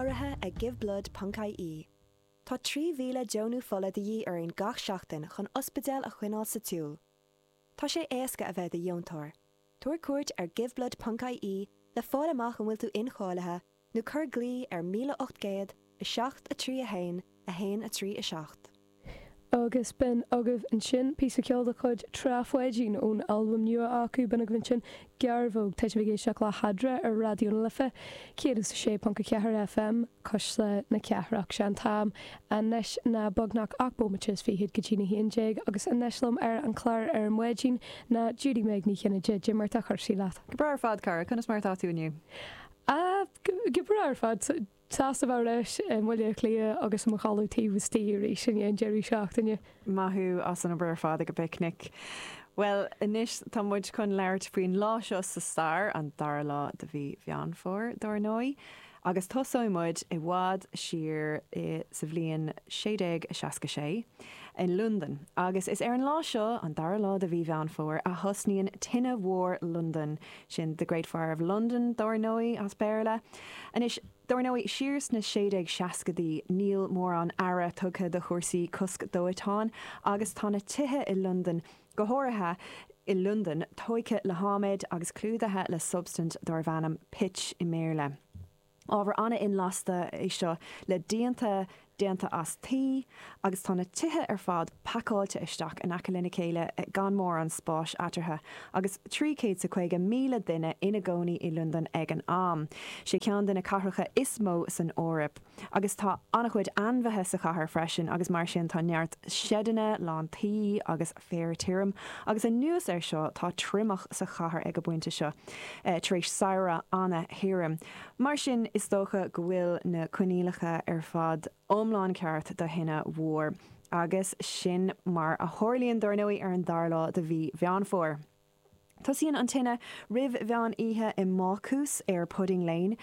Urraithe ag Giveblood ponc ie. Tá 3,000 deonú fola de dhíth orainn gach seachtain chun ospidéil a choinneáil sa tsiúl. Tá sé éasca a bheith i do dheontóir. Tabhair cuairt ar Giveblood ponc ie le fáil amach an bhfuil tú incháilithe nó cuir glao ar 1800 7 3 1 1 3 7. Agus b'in agaibh ansin píosa ceoil de chuid Trá Pháidín ón albam nua acu, b'in agaibh ansin Gearbhóg. Tá sibh ag éisteacht le hEadra ar Raidió na Life 106.4 FM, Cuisle na Cathrach. Sé an t-am anois ná beagnach 8 bomaite is fichead go dtí na haon déag agus anois liom ar an chlár ar maidin ná Judy Meg Ní Chinnéide. Cad é mar atá cúrsaí leat. Go breá ar fad, cara. Conas mar atá tú inniu? Ah, go breá ar fad. Sásta bheith ar ais i mBaile Átha Cliath agus i mo chodladh taobh istigh arís i ndiaidh an deireadh seachtaine. Maith thú as an obair ar fad ag an bpicnic. Bhuel, anois tá muid chun labhairt faoin lá seo sa stair, an dara lá de mhí Mheán Fómhair, dár ndóigh. Agus tosóidh muid i bhfad siar i sa bhliain 1666 i Londain. Agus is ar an lá seo, an dara lá de mhí Mheán Fómhair, a thosnaíonn Tine Mhór Londan, Sin The Great Fire of London, dár ndóigh, as Béarla. Anois, dár ndóigh, siar sna 1660idí, níl mórán aire tugtha do chúrsaí cosc dóiteáin agus tá na tithe i Londain, go háirithe i Londain, tóigthe le hadhmaid agus clúdaithe le substaint darbh ainm pitch i mBéarla. Ábhar an-inlasta é seo le díonta déanta as tuí agus tá na tithe ar fad pacáilte isteach in aice lena chéile gan mórán spáis eatarthu agus 350,000 duine ina gcónaí i Londain ag an am. Sé ceann de na cathracha is mó san Eoraip. Agus tá an-chuid ainmhithe sa chathair freisin agus mar sin tá neart seideanna lán tuí agus féar tirim agus anuas air seo tá triomach sa chathair ag an bpointe seo tar éis samhradh an-thirim. Mar sin is dócha go bhfuil na coinníollacha ar fad iomlán ceart do thine mhór. Agus sin mar a tharlaíonn dár ndóigh ar an dara lá de mhí Mheán Fómhair. Tosaíonn an tine roimh mheán oíche i mbácús ar Pudding Lane,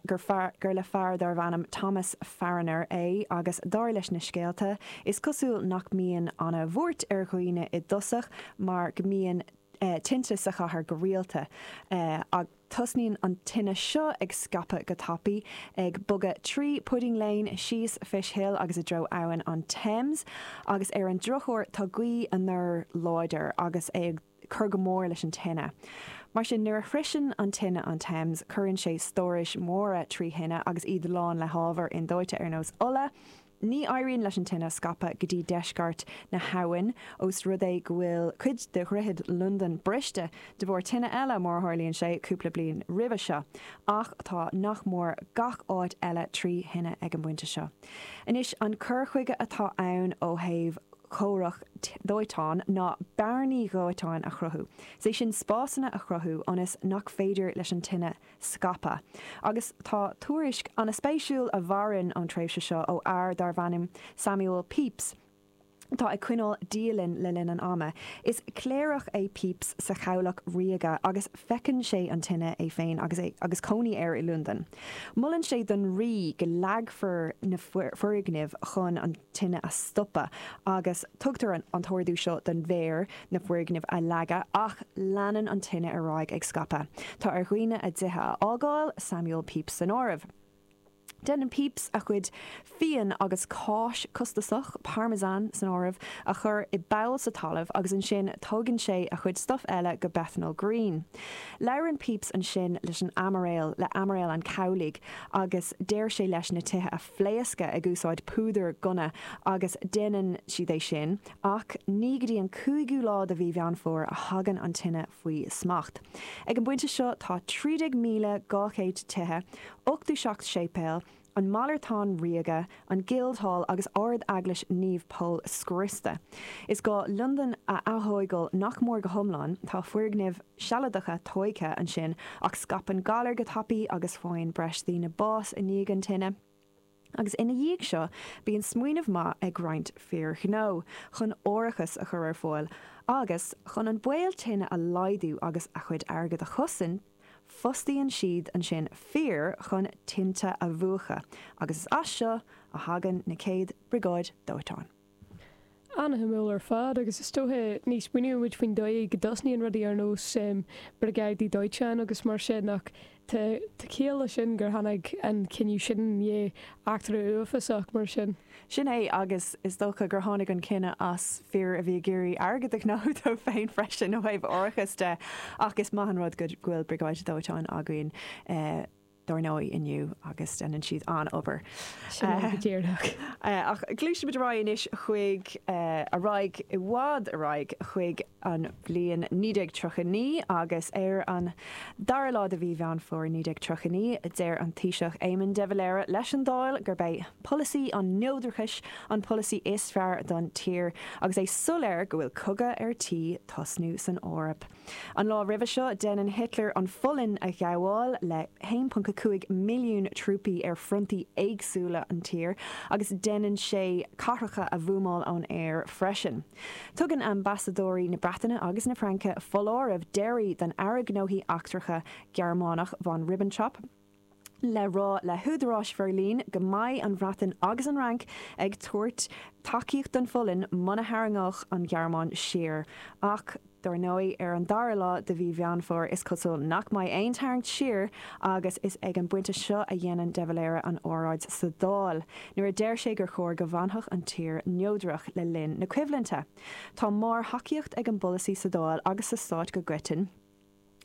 gur fear, gur le fear darbh ainm Thomas Farriner é agus dar leis na scéalta, is cosúil nach mbíonn ana-bhuairt ar dhaoine i dtosach mar go mbíonn tinte sa chathair go rialta. Tosnaíonn an tine seo ag scaipeadh go tapaidh, ag bogadh trí Pudding Lane, síos Fish Hill agus i dtreo abhainn an Thames, agus ar an drochuair tá gaoth anoir láidir agus é ag cur go mór leis an tine. Mar sin, nuair a shroiseann an tine an Thames, cuireann sé stórais mhóra trí thine agus iad lán le hábhar indóite ar nós ola, Ní éiríonn leis an tine scaipeadh go dtí deisceart na habhann, ós rud é go bhfuil cuid de dhroichead Londan briste de bharr tine eile, mar a tharlaíonn sé, cúpla bliain roimhe seo. Ach tá nach mór gach áit eile trí thine ag an bpointe seo. Anois, an cur chuige atá ann ó thaobh chomhrac dóiteáin ná bearnaí dhóiteáin a chruthú, is é sin spásanna a chruthú ionas nach féidir leis an tine scaipeadh. Agus tá tuairisc an-spéisiúil a mhaireann ón tréimhse seo ó fhear darbh ainm Samuel Pepys, atá ag coinneáil dialann le linn an ama. Is cléireach é Pepys sa Chabhlach Ríoga agus feiceann sé an tine é féin agus é agus cónaí air i Londain. Molann sé don Rí go leagfar na foirgnimh chun an tine a stopadh agus tugtar an t-ordú seo don mhéara na foirgnimh a leagadh ach leanann an tine ar aghaidh ag scaipeadh. Tá ar dhaoine a dtithe a fhágáil, Samuel Pepys san áireamh. Déanann Pepys a chuid fíon agus cáis costasach, parmesan san áireamh, a chur i bpoll sa talamh agus ansin tógann sé a chuid stuif eile go Bethnal Green. Labhrann Pepys ansin leis an aimiréal, le aimiréal an chabhlaigh agus deir sé leis na tithe a phléascadh ag úsáid púdar gunna agus déanann siad é sin ach ní go dtí an cúigiú lá de mhí Mheán Fómhair a thagann an tine faoi smacht. Ag an bpointe seo tá 13,200 tithe, 87 séipéal, an Malartán Ríoga, an Guildhall agus Ard-Eaglais Naomh Pól scriosta. Is gá Londain a aththógáil nach mór go hiomlán, tá foirgnimh sealadacha tóigthe ansin ach scaipeann galar go tapaidh agus faigheann breis daoine bás i ndiaidh an tine. Agus ina dhiaidh seo bíonn smaoineamh maith ag roinnt fir ghnó chun árachas a chur ar fáil agus, chun an baol tine a laghdú agus a chuid airgid a chosaint, fostaíonn siad ansin fir chun tinte a mhúchadh agus is as seo a thagann na chéad briogáid dóiteáin. Ana-shuimiúil ar fad, agus is dócha ní smaoiníonn muid faoin dóigh go dtosnaíonn rudaí ar nós briogáidí dóiteáin agus mar sin ach tá ciall leis sin gur tháinig an cinneadh sin i ndiaidh eachtra uafásach mar sin. Sin é, agus is dócha gur tháinig an cinneadh as fir a bhí ag iarraidh airgead a ghnóthú dóibh féin freisin ó thaobh árachas de, ach is maith an rud go bhfuil briogáid dóiteáin againn dár ndóigh inniu agus déanann siad an-obair. Sin é go díreach. Ach gluaisimid ar aghaidh anois chuig, ar aghaidh, i bhfad ar aghaidh chuig an bhliain 1939 agus ar an dara lá de mhí Mheán Fómhair 1939 deir an Taoiseach Éamon de Valera leis an Dáil gurb é polasaí an neodrachais an polasaí is fearr don tír agus é soiléir go bhfuil cogadh ar tí tosnú san Eoraip. An lá roimhe seo, déanann Hitler an Pholainn a ghabháil le 1.5 milliún trúpaí ar frontaí éagsúla an tír agus déanann sé cathracha a bhuamáil ón aer freisin. Tugann ambasadóirí na Breataine agus na Fraince foláireamh deiridh don Aire Gnóthaí Eachtracha Gearmánach von Ribbentrop le rá le húdaráis Bheirlín go mbeidh an Bhreatain agus an Fhrainc ag tabhairt tacaíocht don Pholainn muna tharraingeodh an Ghearmáin siar. Ach, dár ndóigh, ar an dara lá de mhí Mheán Fómhair is cosúil nach mbeidh aon tarraingt siar agus is ag an bpointe seo a dhéanann de Valera an óráid sa Dáil nuair a deir sé gur chóir go bhfanfadh an tír neodrach le linn na coimhlinte. Tá mórthacaíocht ag an bpolasaí sa Dáil agus sa stát go coiteann.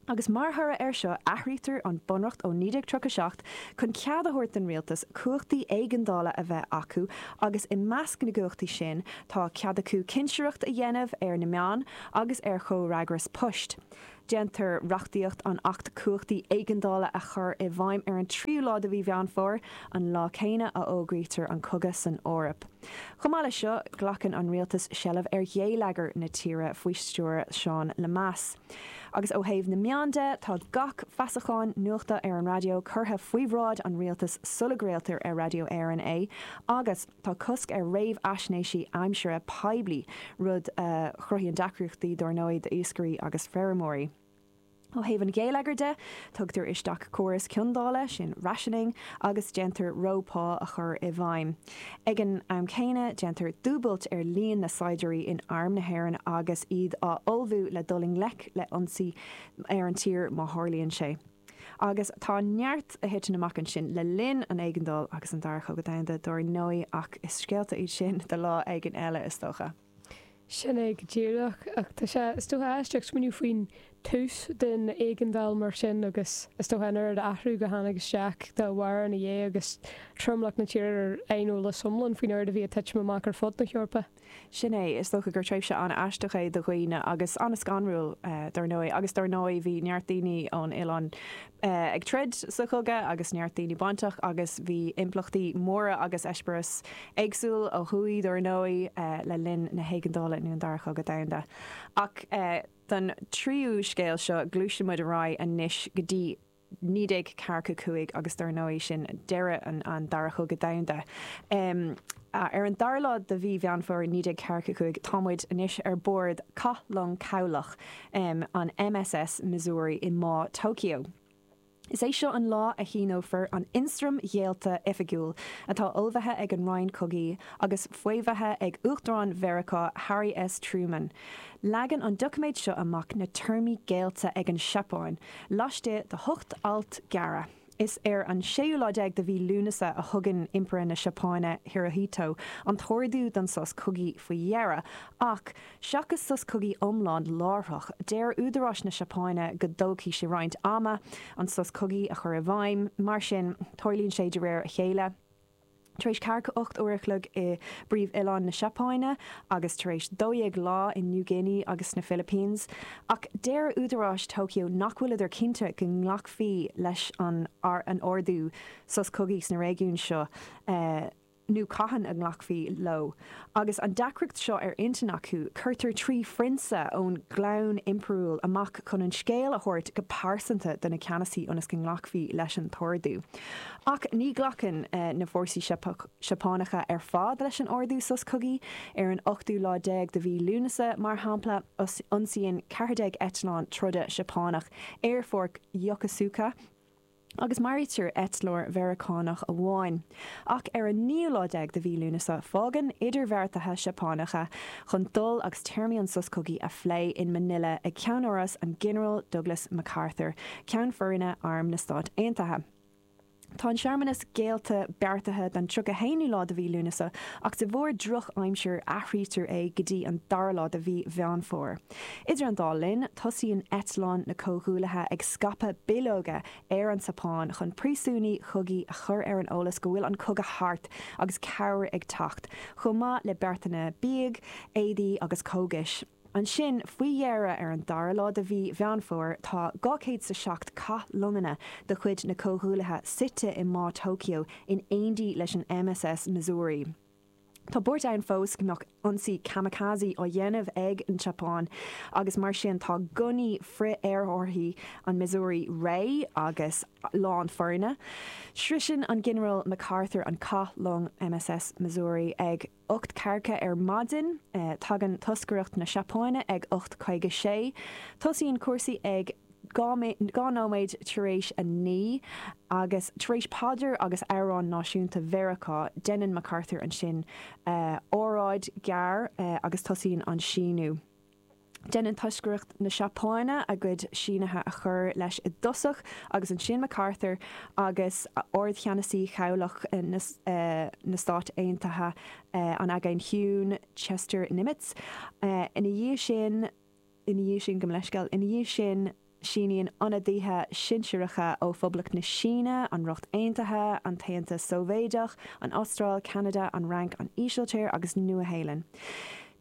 Agus mar thoradh air seo athraítear an Bunreacht ó 1937 chun cead a thabhairt don rialtas cumhachtaí éigeandála a bheith acu agus i measc na gcumhachtaí sin tá cead acu cinsireacht a dhéanamh ar na meáin agus ar chomhfhreagras poist. Déantar reachtaíocht an Acht Cumhachtaí Éigeandála a chur i bhfeidhm ar an tríú lá de mhí Mheán Fómhair, an lá céanna a fhógraítear an cogadh san Eoraip. Chomh maith leis seo, glacann an rialtas seilbh ar gheilleagar na tíre faoi stiúir Seán Lemass. Agus ó thaobh na meán de, tá gach feasachán nuachta ar an raidió curtha faoi bhráid an rialtais sula gcraoltar ar Raidió Éireann é, agus tá cosc ar réamhaisnéisí aimsire poiblí, rud a chruthaíonn deacrachtaí, dár ndóigh, d'iascairí agus feirmeoirí. Ó thaobh an gheilleagair de, tugtar isteach córas ciondála, sin rationing, agus déantar ró-phá a chur i bhfeidhm. Ag an am céanna, déantar dúbailt ar líon na saighdiúirí in Arm na hÉireann agus iad á ullmhú le dul i ngleic le ionsaí ar an tír má tharlaíonn sé. Agus tá neart a thiteann amach ansin le linn an éigeandáil agus an Dara Cogadh Domhanda, dár ndóigh, ach is scéalta iad sin do lá éigin eile, is dócha. Sin é go díreach. Ach tá sé, is dócha, aisteach smaoineamh faoin tús den éigeandáil mar sin agus is dócha an oiread athrú go tháinig isteach dá bharr ina dhiaidh agus tromlach na tíre ar aineolas iomlán faoin oiread a bhí ag titim amach ar fud na hEorpa. Sin é, is dócha gur tréimhse an-aisteach é do dhaoine agus an-scanrúil, dar ndóigh. Agus dar ndóigh bhí neart daoine ón oileán ag troid sa chogadh agus neart daoine bainteach agus bhí impleachtaí móra agus eispéireas éagsúil ó thuaidh, dar ndóigh, le linn na héigeandála nó an Dara Cogadh Domhanda. Ach don tríú scéal seo, gluaiseann muid ar aghaidh anois go dtí 1945 agus dar ndóigh sin deireadh an Dara Chogadh Domhanda. Ar an dara lá de mhí Mheán Fómhair 1945 tá muid anois ar bord cath-long cabhlach an MSS Missouri i mBá Tokyo. Is é seo an lá a shíneofar an Ionstraim Ghéillte Oifigiúil, atá ullmhaithe ag an Roinn Cogaidh agus faomhaithe ag Uachtarán Mheiriceá Harry S. Truman. Leagann an doiciméad seo amach na téarmaí géillte ag an Seapáin, laistigh de hocht alt gearra. Is ar an séú lá déag de mhí Lúnasa a thugann Impire na Seapáine Hirohito an t-ordú don sos cogaidh faoi dheireadh, ach seachas sos cogaidh iomlán láithreach, deir údaráis na Seapáine go dtógfaidh sé roinnt ama an sos cogaidh a chur i bhfeidhm. Mar sin, tarlaíonn sé de réir a chéile. Tar éis 48 uair a chloig i bpríomh-oileán na Seapáine agus tar éis 12 lá in New Guinea agus sna Philippines. Ach deir údaráis Tokyo nach bhfuileadar cinnte go nglacfaí leis an ordú sos cogaidh sna réigiúin seo nó cathain a nglacfaí leo. Agus an deacracht seo ar intinn acu, cuirtear 3 phrionsa ón gclann impiriúil amach chun an scéal a thabhairt go pearsanta do na ceannasaí ionas go nglacfaí leis an t-ordú. Ach ní ghlacann na fórsaí Seapánacha ar fad leis an ordú sos cogaidh. Ar an ochtú lá déag de mhí Lúnasa, mar shampla, ionsaíonn 14 eitleán troda Seapánach aerfort Yokosuka. Agus maraítear eitleoir Mheiriceánach amháin. Ach ar an naoú lá déag de mhí Lúnasa, fágann idirbheartaithe Seapánacha chun dul agus téarmaí an sos cogaidh a phlé in Manila ag ceannáras an Ghinearáil Douglas MacArthur, Ceann Foroinne Arm na Stát Aontaithe. Tá an searmanas geallta beartaithe don 31ú lá de mhí Lúnasa ach de bharr droch aimsir athraítear é go dtí an dara lá de mhí Mheán Fómhair. Idir an dá linn, tosaíonn eitleáin na Comhghuaillithe ag scaipeadh bileoga ar an tSeapáin chun príosúnaigh chogaidh a chur ar an eolas go bhfuil an cogadh thart agus cabhair ag teacht, chomh maith le beartanna bídh, éadaí agus cógais. Ansin, faoi dheireadh, ar an dara lá de mhí Mheán Fómhair, tá 207 cath-longanna de chuid na Comhghuaillithe suite i mBá Tokyo in éindí leis an MSS Missouri. Tá buairt ann fós go mbeadh ionsaí kamikaze á dhéanamh ag an tSeapáin agus mar sin tá gunnaí frith-aerárthaí an Missouri réidh agus lán foirne. Sroiseann an Ginearál MacArthur an cath-long MSS Missouri ag. 8 ceathracha ar maidin. Tagann toscaireacht na Seapáine ag 8:56. Tosaíonn cúrsaí ag 2 nóiméad tar éis 9 agus tar éis paidir agus amhrán náisiúnta Mheiriceá, déanann MacArthur ansin óráid ghearr agus tosaíonn an síniú. Déanann toscaireacht na Seapáine a gcuid sínithe a chur leis i dtosach agus ansin MacArthur agus Ardcheannasaí Chabhlach na Stát Aontaithe an Aigéin Chiúin, Chester Nimitz. Ina dhiaidh sin, ina dhiaidh sin, gabh mo leithscéal, ina dhiaidh sin, Síníonn ionadaithe sinsearacha ó Phoblacht na Síne, an Ríocht Aontaithe, an tAontas Sóivéadach, an Astráil, Ceanada, an Fhrainc, an Ísiltír agus Nua-Shéalainn.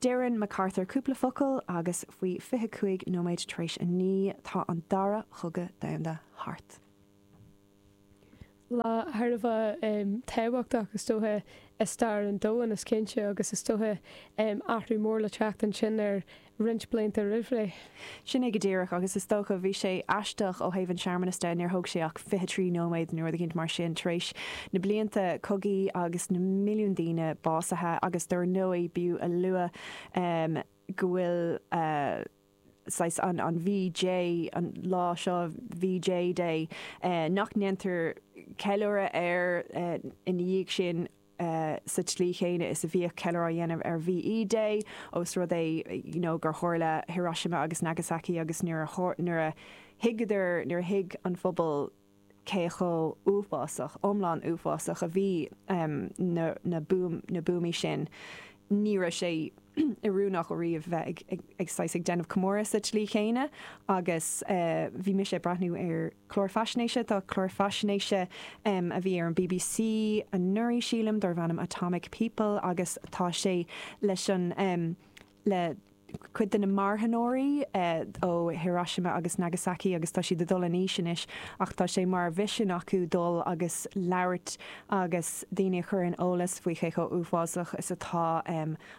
Deireann MacArthur cúpla focal agus faoi 25 nóiméad tar éis 9 tá an Dara Chogadh Domhanda thart. Lá thar a bheith tábhachtach, is dócha, i stair an domhain, is cinnte, agus is dócha athrú mór le teacht ansin ar roinnt blianta roimh ré. Sin é go díreach, agus is dócha, bhí sé aisteach ó thaobh an searmanas de, níor thóg sé ach 23 nóiméad nó rud eicínt mar sin, tar éis na blianta cogaidh agus na milliúin daoine básaithe, agus dar ndóigh, b'fhiú a lua go bhfuil. saghas an an VJ, an lá seo VJ Day, nach ndéantar ceiliúradh air ina dhiaidh sin sa tslí chéanna is a bhíodh ceiliúradh á dhéanamh ar VE Day, ós rud é you know gur tharla Hiroshima agus Nagasaki agus nuair a nuair a thuigeadar, nuair a thuig an phobal cé chomh uafásach, iomlán uafásach a bhí na na buamaí sin. Ní raibh sé oiriúnach ariamh bheith ag ag saghas ag déanamh comóradh sa tslí chéanna agus bhí mise ag breathnú ar chlár faisnéise, tá clár faisnéise a bhí ar an bbc anuraidh sílim darbh ainm Atomic People agus tá sé leis an le cuid de na marthanóirí ó Hiroshima agus Nagasaki agus tá siad ag dul in aois anois ach tá sé mar mhisean acu dul agus labhairt agus daoine a chur ar an eolas faoi cé chomh uafásach is atá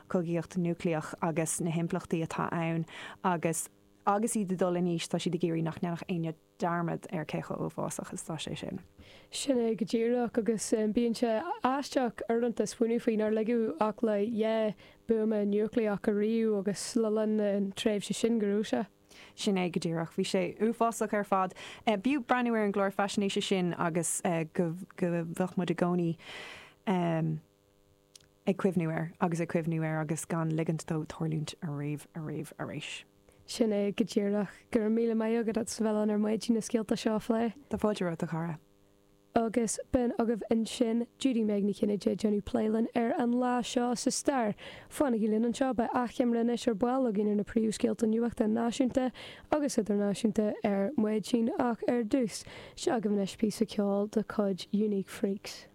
cogaíocht núicléach agus na himpleachtaí atá ann agus agus iad ag dul in aois tá siad ag iarraidh nach ndéanfadh éinne dearmad ar cé chomh uafásach is atá sé sin. Sin é go díreach, agus bíonn sé aisteach uaireanta smaoineamh faoi nár ligeadh ach le dhá buama núicléach ariamh agus le linn na tréimhse sin go raibh sé. Sin é go díreach. Bhí sé uafásach ar fad. B'fhiú breathnú ar an gclár faisnéise sin agus go mbeadh muid i gcónaí ag cuimhniú air agus ag cuimhniú air agus gan ligint dó tarlúint ariamh, ariamh arís. Sin é go díreach. Go raibh míle maith agat as a bheith linn ar maidin na scéalta seo a phlé. Tá fáilte romhat, a chara. Agus b'in agaibh ansin Judy Meg Ní Chinnéide ag déanamh plé linn ar an lá seo sa stair. Fanaigí linn anseo, beidh achoimre anois ar ball againn ar na príomhscéalta nuachta náisiúnta agus idirnáisiúnta ar maidin ach ar dtús, seo agaibh anois píosa ceoil de chuid Unique Freaks.